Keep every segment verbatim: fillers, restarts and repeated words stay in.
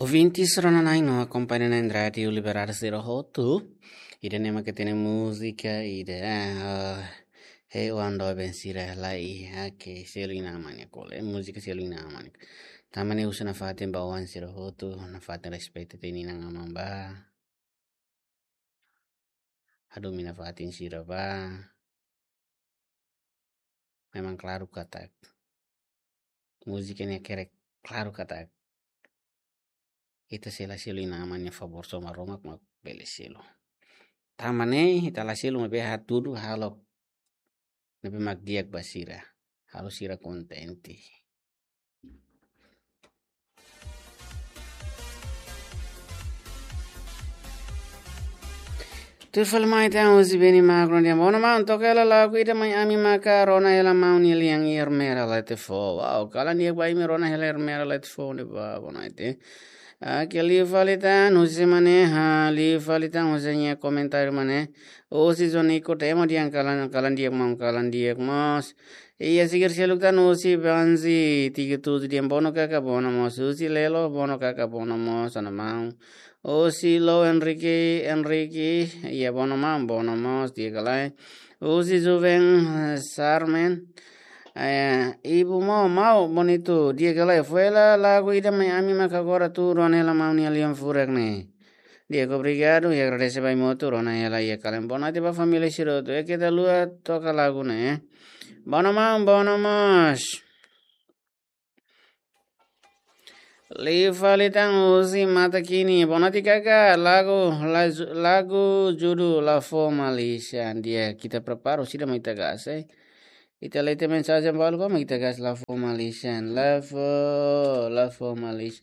Ouvintes rona-na'in no akompaña na'in Rádiu Liberdade sira hotu. Ida-ne'e mak hatene múzika ida, ah, he ando bem sira lai, ah, ke selu inan-aman nia kole, múzika selu inan-aman nia. Tanba ne'e husu nafatin ba oan sira hotu, nafatin respeitu tiha inan-aman ba. Hadomi nafatin sira ba. Memang klaru katak múzika ne'e hakerek klaru katak ita sei la selu inan-aman nia favór, só Maromak mak bele selu. Tanba ne'e ita la selu maibé hatudu halo ne'ebé mak di'ak ba sira. Halo sira kontente. Tuir fali mai ita husi Beni Magro nian. Bono maun, toka hela lagu ida mai ami maka rona hela maun nia lian iha Ermera Letefo. Wow, kalan di'ak ba imi, rona hela Ermera Letefo ne'ebá, bono ite. Oke, liu fali tan husi mane, ha, liu fali tan husi nia komentáriu mane. Husi Zonico Temo dehan kalan, kalan di'ak maun, kalan di'ak mós. Iha seger seluk tan husi Banzi tiga tujuh dehan bono kaka bono mós. Husi Lelo bono kaka bono mós, ana maun. Husi Lo Enrique, Enrique, iha bono maun, bono mós, di'ak ka lae. Husi Juven, eh, Sarmen. Eh, ibu maun, maun, bonitu, di'ak ka lae. Fó hela lagu ida mai ami maka agora tuur ona hela maun nia lian furak ne'e. Di'ak, obrigadu, i agradese ba imi hotu, rona hela iha kalan. Boa noite ba família sira hotu. Oke, ita haluha toka lagu ne'e. Bono maun, bono mós. Liu fali tan husi Mata Kini. Boa noite kaka, lagu, la-, lagu judul La Fó Malisan. Di'ak, ita prepara, sira mai ita gas, eh. Ita lee tiha mensajen balu, koma ita gas La Fó Malisan. La Fó, La Fó Malisan.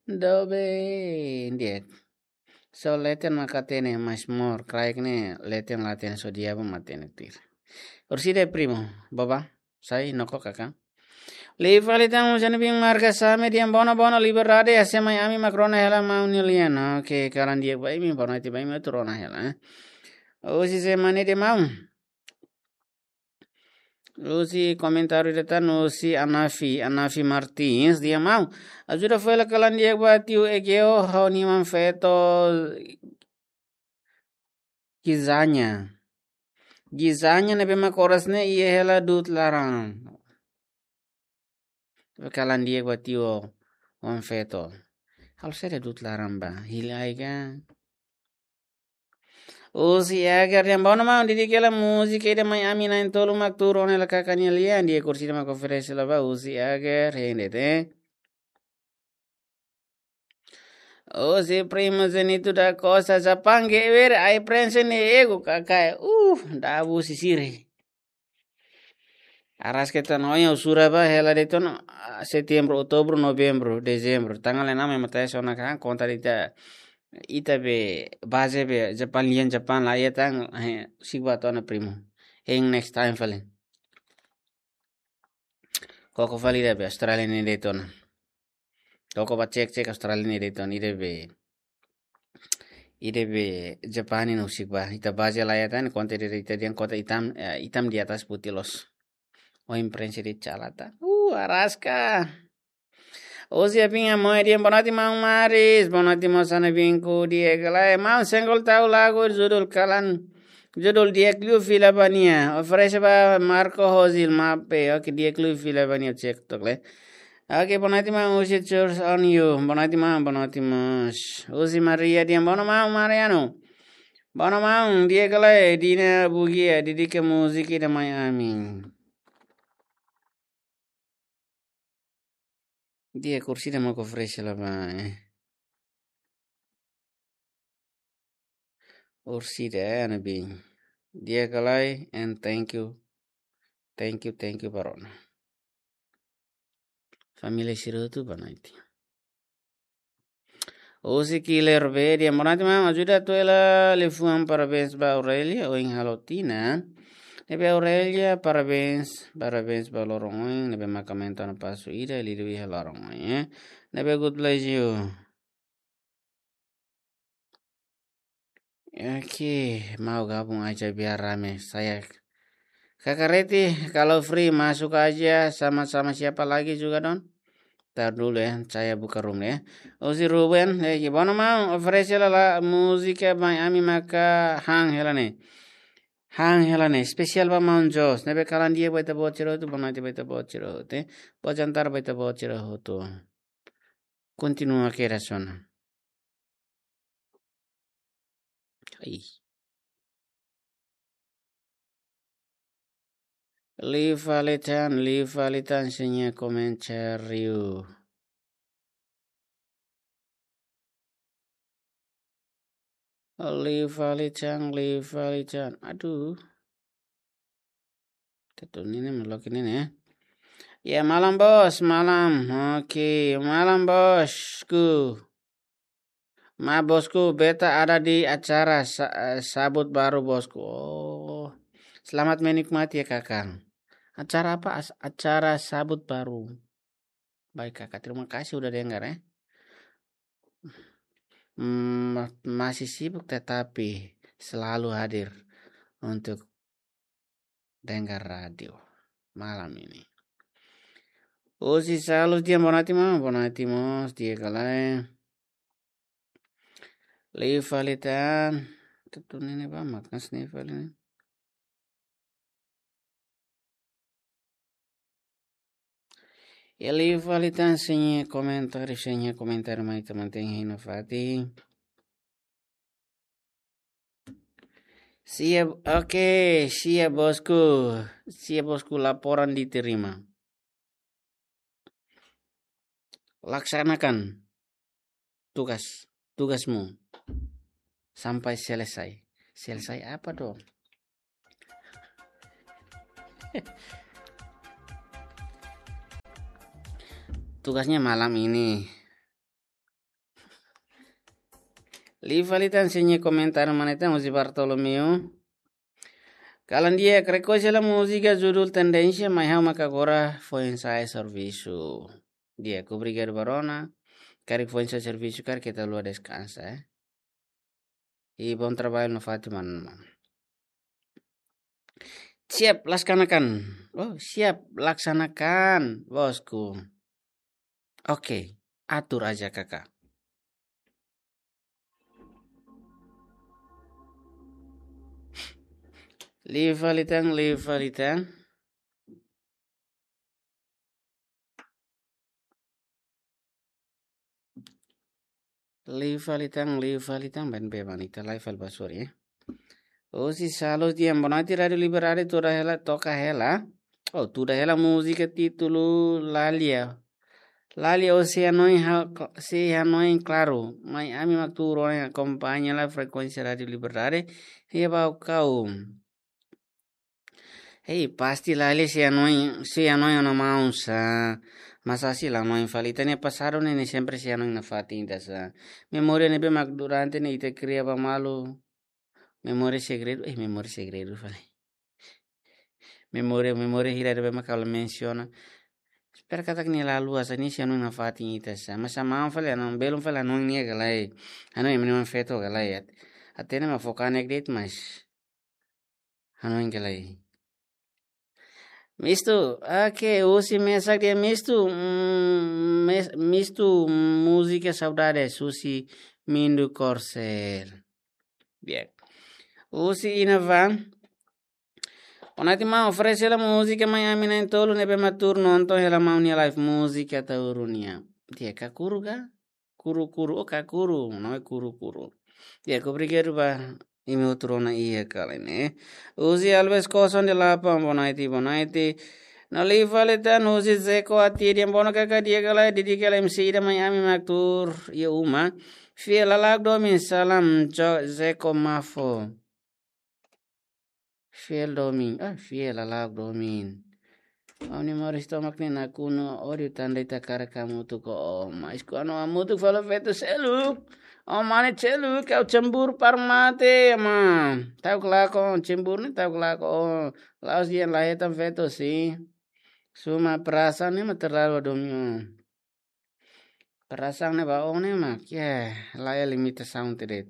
Dobe, di'ak. Só leten mak hatene, mas mós kraik ne'e leten la hatene, só diabu mak hatene tuir. Orsida primo, baba, sai noko kaka. Liu fali tan husi Anubin Marga Same dehan bono bono Liberdade, hanesan mai ami mak rona hela maun nia lian. Oke, kalan di'ak ba imi, boa noite ba imi hotu, rona hela, eh. Husi Semane dehan maun. Husi komentáriu ida tan husi Anafi, Anafi Martins, dehan maun. Ajuda fó hela kalan di'ak ba tiu Egeo, ha'u-nia oan-feto Gizanya. Gizanya ne'ebé mak oras ne'e iha hela du'ut laran. Kalan di'ak ba tiu oan-feto. Halo saida du'ut laran ba? Hili ai ka? Husi Agar dehan bono maun, dedika hela múzika ida mai ami na'in-tolu mak tuur ona hela kaka nia lian. Di'ak, orsida mak oferese la ba, husi Agar, hein de'it, eh. Husi Primo Zenito da Costa, Japão, gewer, ai prensa ne'e ego, kakai. Uh, dabu sisiri. Araska tan oin, ha'u sura ba hela de'it ona, ah, Setembru, Outubru, Novembru, Dezembru. Tanggal enam ema tau ona kan, konta ita, ita be baze be Japão, lian Japão la iha tan, eh, siba tona primo. Hein next time fali. Koko fali ida be Austrália ne'e de'it ona. Koko ba cek-cek Austrália ne'e de'it ona, ida be, ida be Japani no sik ba. Ita baze la iha tan, konta ida ita dehan kota itam, eh, itam di atas putih loos. Oin prensa de'it cala tan. Uh, araska. Husi Apinha Moe dehan boa noite maun Maris, boa noite mós Anubin, di'ak ka lae. Maun, sengol tau lagu judul kalan, judul Di'ak Liu Fila Ba Nia. Oferese ba Marco Rosil Mape, oke, Di'ak Liu Fila Ba Nia, cek tok le. Oke, boa noite maun, husi Church on You. Boa noite maun, boa noite mós. Husi Maria dehan bono maun Mariano. Bono maun, di'ak ka lae, Dina Bugia, dedika múzika ida mai ami. Di'ak, orsida mak oferese la ba, eh. Orsida, eh, Anubin. Di'ak ka lae, and thank you. Thank you, thank you ba rona. Família sira hotu, boa noite. Husi Killer B dehan boa noite maun, ajuda atu hela liafuan parabéns ba Aurélia, ohin halo tinan. Ne'ebé Aurélia, parabéns, parabéns ba loron ohin, ne'ebé mak aumenta ona pasu ida, liuliu iha loron ohin, eh. Ne'ebé God bless you. Oke, mau gabung aja biar rame. Saya Kaka Reti, kalau free masuk aja sama-sama siapa lagi juga, Don? Tar dulu ya, saya buka room ya. Husi Ruben, eh, gimana mau? Oferese hela múzika ba ami maka han hela ne'e. Han hela ne'e. Espesiál ba maun Jos. Ne'ebé kalan di'ak ba ita-boot sira hotu, boa noite ba ita-boot sira hotu, eh. Boa jantar ba ita-boot sira hotu. Kontinua kedas ona. Ai. Liu fali tan, liu fali tan, sei iha komentáriu. Liu fali tan, liu fali tan. Aduh. Tetu nini melok nini ya. Ya, malam bos, malam. Oke, malam bosku. Ma bosku, beta ada di acara sa-, eh, sabut baru bosku. Oh, selamat menikmati ya kakak. Acara apa? As-, acara sabut baru. Baik kakak, terima kasih udah dengar ya. Hmm, ma-, masih sibuk tetapi selalu hadir untuk dengar radio malam ini. Husi Salus di'ak, boa noite maun, boa noite mós, di'ak ka lae? Liu fali tan. Tetu nini ba, makan sini fali ne'e. Ya, liu fali tan, sei iha komentáriu, sei iha komentáriu mai teman-teman iha nafatin. Siap, oke, siap bosku. Siap bosku, laporan diterima. Laksanakan tugas, tugasmu sampai selesai. Selesai apa dong? Tugasnya malam ini. Liu fali tan, sei iha komentáriu mai tan husi Bartolomeu. Kalan di'ak, rekolla múzika judul Tendénsia, mai ha'u maka agora foin sa'e servisu. Di'ak, obrigadu ba rona. Karik foin sa'e servisu, karik keta haluha deskansa, eh. I bom trabalho nafatin, maun. Siap laksanakan. Oh, siap laksanakan, bosku. Oke, atur aja kakak. Liu fali tan, liu fali tan. Liu fali tan, liu fali tan, ben be manita live fali ba sori, eh. Husi Salus di'ak, boa noite Rádio Liberdade, tuda hela, toka hela. Oh, tuda hela múzika títulu Lalia. Lalia, o sei hanoin ha-, sei hanoin klaru. Mai ami mak tuur ona akompaña la frekuénsia Rádio Liberdade. Iha Baucau. Hei, pasti Lalia sei hanoin, sei hanoin ona maun sá. Masa sei la hanoin fali, ita-nia pasadu ne'e, ne'e sempre sei hanoin nafatin ita sá. Memória ne'ebé mak durante ne'e ita kria ba malu. Memória segredu, eh, memória segredu fali. Memória, memória hira ne'ebé mak ha'u la mensiona. Espera katak nia la haluha sá, nia sei hanoin nafatin ita sá. Masa maun fali hanoin, belun fali hanoin nia ka lae. Hanoin ema nia feto ka lae. At-, hatene mak fó kanek de'it, mas hanoin ka lae. Mistu, oke, husi Mesak di'ak, Mistu, mm, Mes-, Mistu, múzika Saudades, husi Mindu Korsel. Di'ak. Husi Inavan. Boa noite maun, oferese hela múzika mai ami na'in-tolu ne'ebé mak tuur nonton hela maun nia live, múzika Taurunian. Di'ak, Kakuru ka? Kuru-kuru, oh, Kakuru, nome Kuru-kuru. Di'ak, obrigadu ba imi hotu rona iha kala ne'e. Husi Alves Koson de Lapan, boa noite, boa noite. No liu fali tan husi Zeko Ati, di'ak, boa noite kakak, di'ak ka lae, di'ak ka lae, M C ida mai ami mak tuur iha uma. Fiel lala'ok domin, salam, Jo-, Zeko Mafo. Fiel domin, ah, fiel lala'ok domin. Ha'u-nia moris tomak ne'e nakonu, ódiu tan de'it hakarak hamutuk ho ó, mas kuandu hamutuk fali feto seluk, ó mane seluk, ha'u cemburu para mate, ma. Ta'uk lakon, cemburu ne'e ta'uk lakon. La'ós dehan la hetan feto, sin. Suma perasaan ne'e mak terlalu domin. Perasaan ne'e ba ó ne'e mak, ya, laiha limitasaun de'it.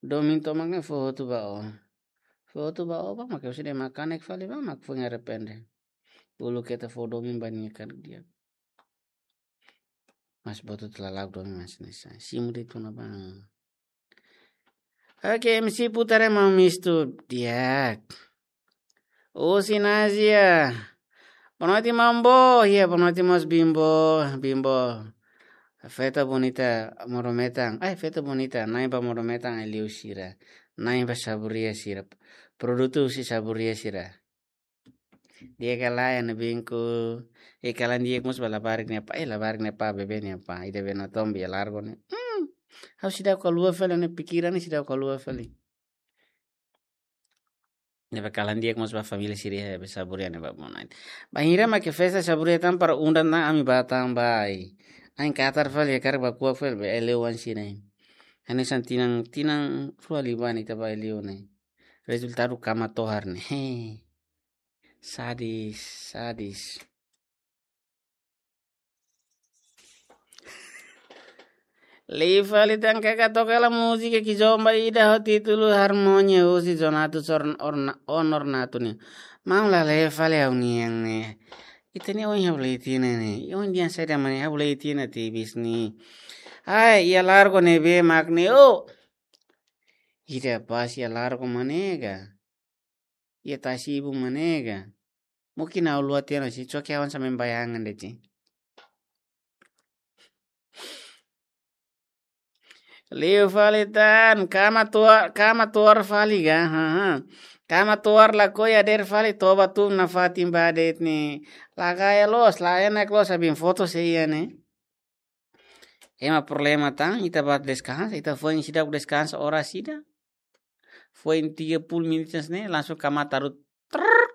Domin tomak ne'e fó hotu ba ó. Fó hotu ba ó ba mak, ya sudah, mak kanek fali ba mak foin arrepende. Uluk keta fó domin ba nia karik di'ak. Mas botu tela lagu domi mas nesa. Simu de tuna bang. Oke, M C putar ema mistu di'ak. Husi Nazia. Boa noite, Mambo. Iya, boa noite, Mas Bimbo. Bimbo. Festa bonita, modo-metan. Ai, festa bonita. Na'in ba modo-metan, ai liu sira. Na'in ba saburia sira. Produtu husi saburia sira. Di'ak ka lae, ha'u-nia binku. E kalan di'ak mós ba labarik nia pá. E labarik nia pá, bebé nia pá. Ida be natoon be largo ne'e. Hmm. Ha'u seidauk haluha fali, ha'u-nia pikiran ne'e seidauk haluha fali. Ne'ebé kalan di'ak mós ba família sira, be saburia ne'e ba monain. Bainhira mak festa saburia tan para undang tan ami ba tan ba ai. Ain katar fali, hakarak ba kuak fali, be eleu wan sira. Hanesan tinan, tinan rua liubá ne'e ita ba eleu ne'e. Rezultadu kama tohar ne'e. He. Sadis, sadis. Lee fali tan kaka toka hela múzika Kizomba ida ho títulu Harmonia husi Zonatus Orn-, Orna-, Onornato nian. Maun la lee fali ha'u-nian ne'e. Ita-nia oin ha'u lee tiha ona ne'e. Oin dehan saida mak ne'e ha'u lee tiha ona tebes ne'e. Ai, iha largo ne'ebé mak ne'e. Oh. Ida pas iha largo mak ne'e ka. Iha tasi ibun mak ne'e ka. Mungkin ha'u haluha tiha ona, si coki awan sa membayangan de'it. Liu fali tan, kama tohar, kama tohar fali ka, ha, ha. Kama tohar lakohi hadeer fali, toba tun nafatin ba de'it ne'e. Lagaya loos, la enak loos, abin foto sei iha ne'e. Ema problema tan, ita ba deskansa, ita foin seidauk deskansa oras ida. Foin tiga puluh menit ne'e, langsung kama tarut. Trrr.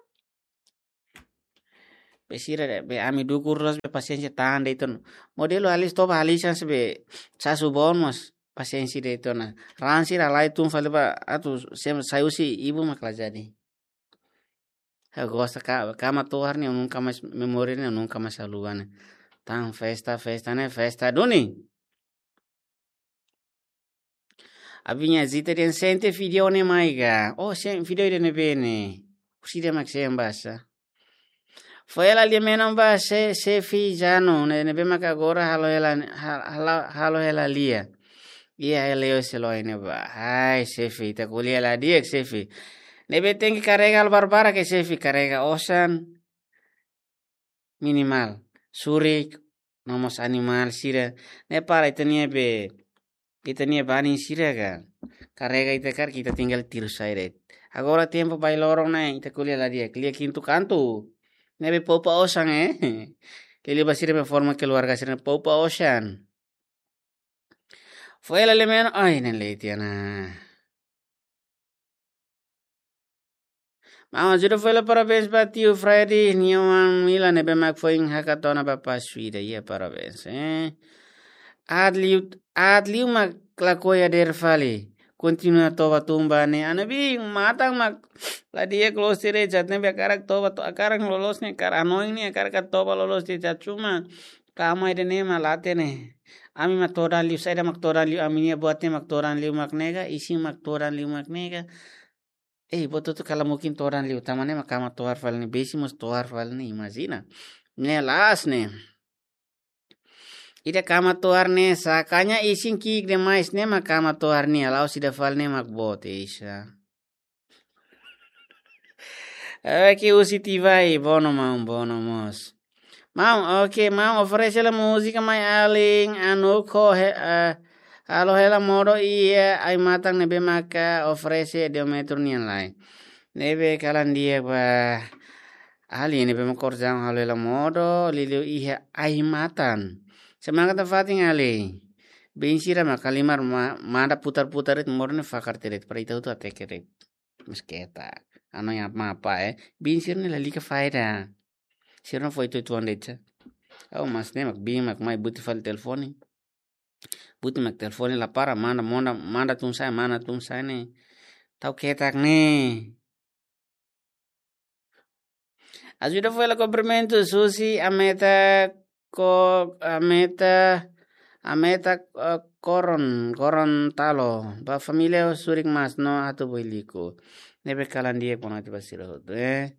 Be sira de'it, be ami dukur loos be pasiénsia tan de'it ona. Modelu halis toba halis an se be sasu bon mas pasiénsia de'it ona. Ran sira halai tun fali ba atu sem sai husi ibun mak la jadi. Ha'u gosta ka, kama tohar ne'e, nunka mais memória ne'e, nunka mais haluha ne'e. Tan festa, festa ne'e, festa duni. Abinya Zita dehan sente vídeo ne'e mai ka. Oh, sente vídeo ida ne'ebé ne'e. Husi ida mak sente basa. Foin hela lia menon ba se, xefe Jano, ne'e, ne'ebé mak agora halo hela, ha-, halo, halo hela lia. Iha hela yo selo ne'ebá. Ai, xefe, ita ko'alia la di'ak, xefe. Ne'ebé tenke karrega halo barbarak ke xefe, karrega osan. Minimal. Surik, no mós animál sira. Ne'e para ita-nia be, ita-nia banin sira ka. Karrega ita karik, ita tinggal tiru sai de'it. Agora tempu bailoron ne'e, ita ko'alia la di'ak, lia kintu kantu. Ne'ebé poupa osan, eh. Liuliu ba sira be forma keluarga sira poupa osan. Foin hela lia menon, ai, ne'e lee tiha ona. Maun Ajuda foin hela parabéns ba tiu Freddy nia oan Mila ne'ebé mak foin hakat ona ba pasu ida, iha parabéns, eh. Aat liu, aat liu mak lakohi hadeer fali. Kontinua toba tun ba ne'e. Ha'u-nia biin, matan mak la di'ak loos de'it, jat ne'ebé hakarak toba to-, hakarak loloos ne'e, hakarak hanoin ne'e, hakarak toba loloos de'it, jat cuma kama ida ne'e mak late ne'e. Ami mak todan liu, saida mak todan liu, ami-nia buat ne'e mak todan liu mak ne'e ka, isin mak todan liu mak ne'e ka. Eh, buat hotu-hotu kala mungkin todan liu, tanba ne'e mak kama tohar fali ne'e, besi mós tohar fali ne'e, imajina. Ne'e la'ós ne'e. Ida kama tohar ne'e, sakanya isin ki'ik demais ne'e mak kama tohar ne'e, la'ós ida fali ne'e mak boot, isa. Oke, husi Tivai, bono maun, bono mós. Maun, oke, maun, oferese hela múzika mai alin, anu ko he, eh, halo hela modo iha ai-matan ne'ebé maka oferese Diometro nian lai. Ne'ebé kalan di'ak ba alin ne'ebé mak kordang halo hela modo, liuliu iha ai-matan. Semangat nafatin alin. Biin sira mak halimar ma-, manda putar-putar de'it modo ne'e fakar tiha de'it, para ita hotu hateke de'it. Mas ketak. Anu yang apa, eh. Biin sira ne'e lalika faida. Sira ne'e foin tuan de'it. Oh, mas ne'e mak biin mak mai buti fali telefone. Buti mak telefone la para, manda, manda, manda tun sa'e, manda tun sa'e ne'e. Tau ketak ne'e. Ajuda foin hela kumprimentu, husi Ameta ko, Ameta, Ameta, eh, Koron, Koron Talo. Ba família Surik Mas no Atu Boiliku. Ne'ebé kalan di'ak, boa noite ba sira hotu, eh.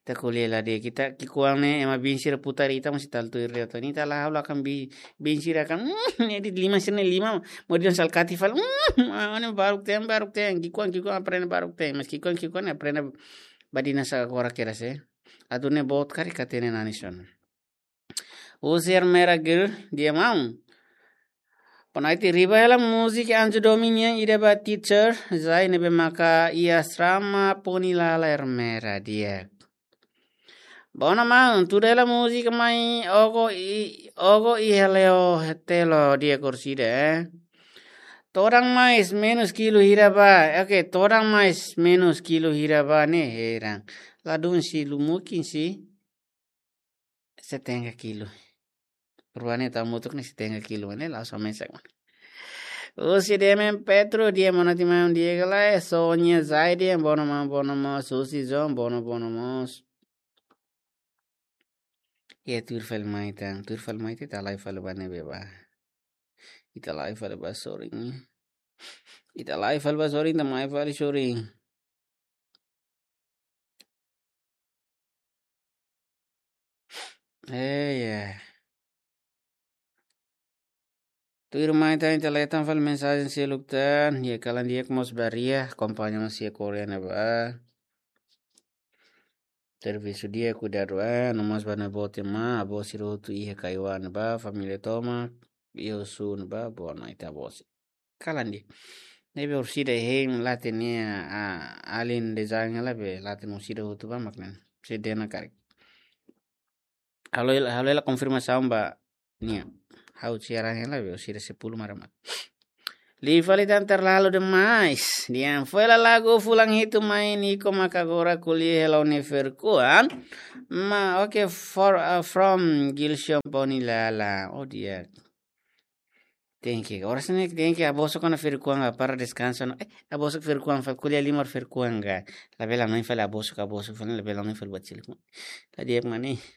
Ita ko'alia la di'ak, ita ki'ikoan ne'e ema biin sira putar ita mós ita tuir de'it. Ita la halo akan bi-, biin sira akan, mm, ne'e de'it liman sira-ne'e liman, mós dehan salkati fali, mm, ah, ne'e baruk-teen, baruk-teen, ki'ikoan, ki'ikoan aprende baruk-teen, mas ki'ikoan, ki'ikoan aprende badinas agora kedas, eh. Atu ne'e boot karik hatene nanis ona. Husi Ermera Gil, di'ak maun. Panaiti riba hela múzika Anjo Domi nian ida ba teacher, Zai ne'ebé maka iha asrama Ponilala Ermera di'ak. Bona maun, tuda hela múzika mai ogo i, ogo i heleo hetelo di'ak orsida, eh. Todan mais menus kilu hira ba, oke, todan mais menus kilu hira ba ne'e heran. Ladún si lumukin si setenta kilu. Ruane ta mutuk ne'e setenta kilu, ne'e la sama sak. Husi D M Petro, di'ak maun, ati maun di'ak ka lae, Sonia Zaidi, bona maun, bona maun, Susi Zon, bona, bona maun. Iha tuir fali mai tan, tuir fali mai tan, ita la'o fali ba ne'ebé ba. Ita la'o fali ba sorin. Ita la'o fali ba sorin, ita mai fali sorin. Eh, ya. Tuir mai tan ita la'o tan fali mensajen seluk tan, ya kalan di'ak mós ba Ria, akompaña mós iha Korea ne'ebá. Servisu di'ak, kuidadu an, no mós ba ne'e boot ema, avó sira hotu iha Kaiwan ne'ebá, família tomak, iha Osu ne'ebá, boa noite avó sira. Kalan di'ak. Ne'ebé orsida hein la hatene, ah, alin design la be, la hatene orsida hotu ba mak ne'e. Sedena karik. Halo hela, halo hela konfirmasaun ba nia. Ha'u siaran hela be, orsida sepuluh mara mak. Liu fali tan terlalu demais. Di'ak, foin hela lagu fulan hitu mai Niko maka agora ko'alia hela ho nia ferik-oan. Ma, oke, for, uh, from Gilson Ponilala. Oh, di'ak. Thank you. Oras ne'e thank you. Avó sira-nia ferik-oan ka para deskansa ona. Eh, avó sira-nia ferik-oan fali ko'alia liman ferik-oan ka. Labele hanoin fali avó sira, avó sira fali labele hanoin fali buat seluk. La di'ak mak ne'e.